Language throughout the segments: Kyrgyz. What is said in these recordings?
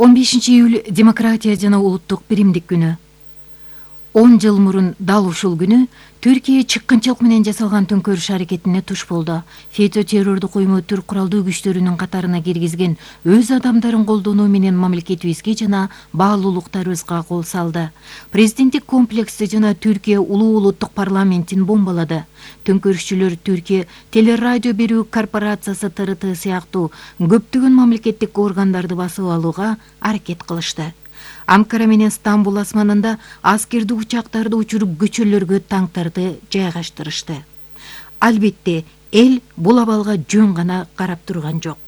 15-июль демократия жана улуттук биримдик күнү. 10 жыл мурун дал ушул күнү Түркия чыккынчылык менен жасалган төңкөрүш аракетине туш болду. ФЕТÖ террордук уюму түрк куралдуу күчтөрүнүн катарына киргизген өз адамдарын колдонуу менен мамлекетибизге жана баалуулуктарыбызга кол салды. Президенттик комплексти жана Түркия улуу улуттук парламентин бомбалады. Төңкөрүшчүлөр Түркия телерадио берүү корпорациясы ТРТ сыяктуу көптөгөн мамлекеттик органдарды басып алууга аракет кылышты. Анкара менен Стамбул асманында аскердик учактарды учуруп көчөлөргө танктарды жайгаштырышты. Албетте, эл бул абалга жөн гана карап турган жок.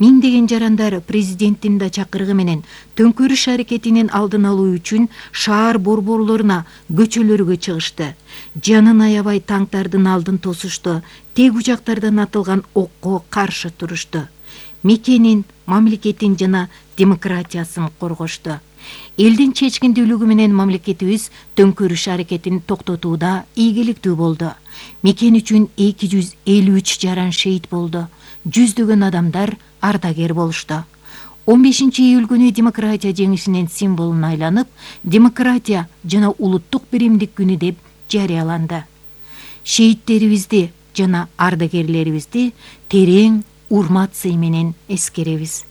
Миңдеген жарандар президенттин да чакырыгы менен төңкөрүш аракетинин алдын алуу үчүн шаар борборлоруна, көчөлөргө чыгышты. Жанын аябай танктардын алдын тосушту, тег учактардан атылган окко каршы турушту. Мекенин, мамлекетин жана демократиясын коргошту. Элдин чечкиндүүлүгү менен мамлекетибиз төңкөрүш аракетин токтотууда ийгиликтүү болду. Мекен үчүн 253 жаран шейит болду. Жүздөгөн адамдар ардагер болушту. 15-июль күнү демократия жеңишинин символуна айланып, демократия жана улуттук биримдик күнү деп жарыяланды. Шейттерибизди жана ардагерлерибизди терең урмат сый менен эскеребиз.